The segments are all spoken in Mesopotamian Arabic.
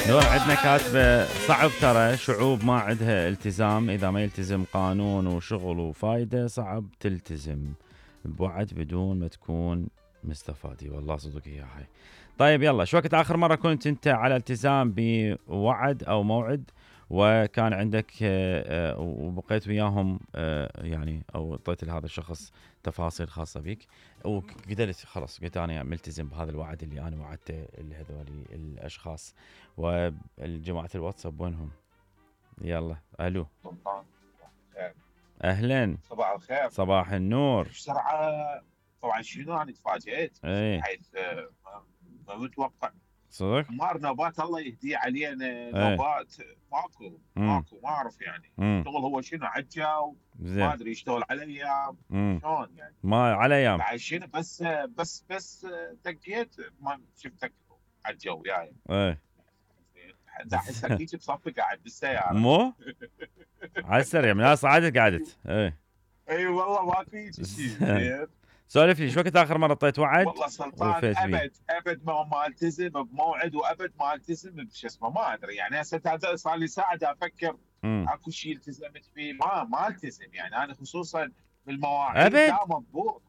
نور عندنا كاتبه صعب ترى شعوب ما عندها التزام، اذا ما يلتزم قانون وشغل وفايده صعب تلتزم بوعد بدون ما تكون مستفادي. والله صدق هي هاي. طيب يلا، شو وقت اخر مره كنت انت على التزام بوعد او موعد وكان عندك وبقيت وياهم يعني او اعطيت لهذا الشخص تفاصيل خاصه بك وقدرت خلاص قلت انا ملتزم بهذا الوعد اللي انا وعدته لهذول الاشخاص؟ والجماعه الواتساب وينهم؟ يلا الو. سلطان خير. اهلا. صباح الخير. صباح النور. بسرعه. طبعا شنو انا تفاجئت بحيث ما متوقع. صدق؟ حمار نوبات الله يهديه علينا. نوبات ماكو ما اعرف يعني شغل هو شنو عجا ما ادري يشتغل على ايام شلون يعني ما على ايام بعد شنو بس دقيت ما شفتك عجا وياي. دا احسك هيك بصفي قاعد بالسياره مو على السريع من هسه قعدت اي والله ما في شيء. سولف لي شو وقت اخر مره طيت وعد؟ والله سلطان ابد ما التزم بموعد وابد ما التزم بشو اسمه ما ادري يعني هسه صار لي ساعه افكر اكو شيء التزمت فيه ما التزم يعني انا خصوصا بالمواعيد لا مضبوط.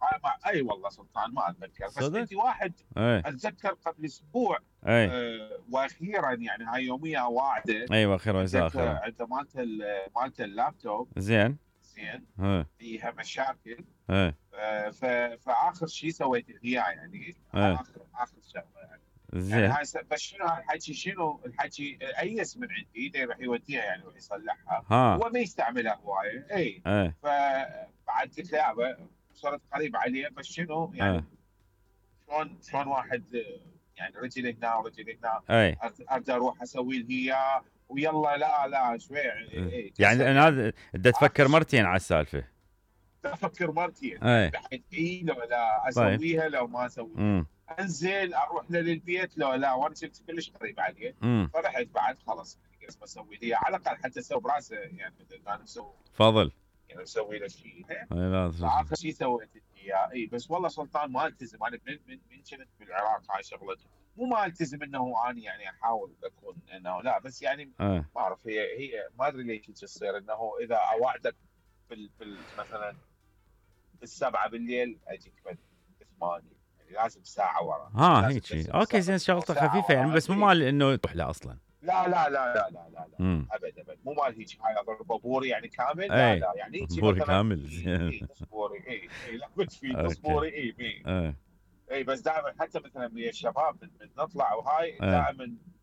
اي والله سلطان ما اتذكر بس انت واحد اتذكر قبل اسبوع واخيرا يعني هاي يوميه واعده. ايوه اخيرا عند مالت اللابتوب زين فيها مشاكل. فاخر شيء سويته هي يعني اخر شغله يعني زين يعني هاي بس شنو هالحكي شنو الحكي ايس من عندي يروح يوديها يعني يروح يصلحها هو ما يستعملها هوايه. اي فبعد قلت له يابا صرت قريب عليه بس شنو يعني شلون واحد يعني رجل هنا ورجل هنا ارجع اروح اسوي له اياه ويلا لا شوي يعني انا هذا بدي تفكر مرتين على السالفه. افكر مرتين بحيث لو لا اسويها لو ما اسويها انزل اروح له للبيت لو لا وانا كنت كلش قريب عليه فرحت بعد خلاص يعني قلت بسوي لي على الاقل حتى اسوي براسه يعني انا مسوي فضل يعني اسوي له شيء. اخر شيء سويت اياه اي بس والله سلطان ما التزم انا من كنت بالعراق هاي شغلتي مو ما التزم انه اني يعني احاول اكون انه لا بس يعني ما اعرف هي ما ادري ليش تصير انه اذا اوعدك مثلا بالسبعة بالليل اجيك بالثمانية يعني لازم ساعة ورا هيك اوكي زين شغلته خفيفة يعني بس مو مال انه تروح له اصلا. لا ابد مو مال هيك هاي اضرب بوري يعني كامل لا يعني هيك بوري كامل تصبوري لا بس في تصبوري اي بس دائما حتى مثلا ويا الشباب نطلع وهاي دائما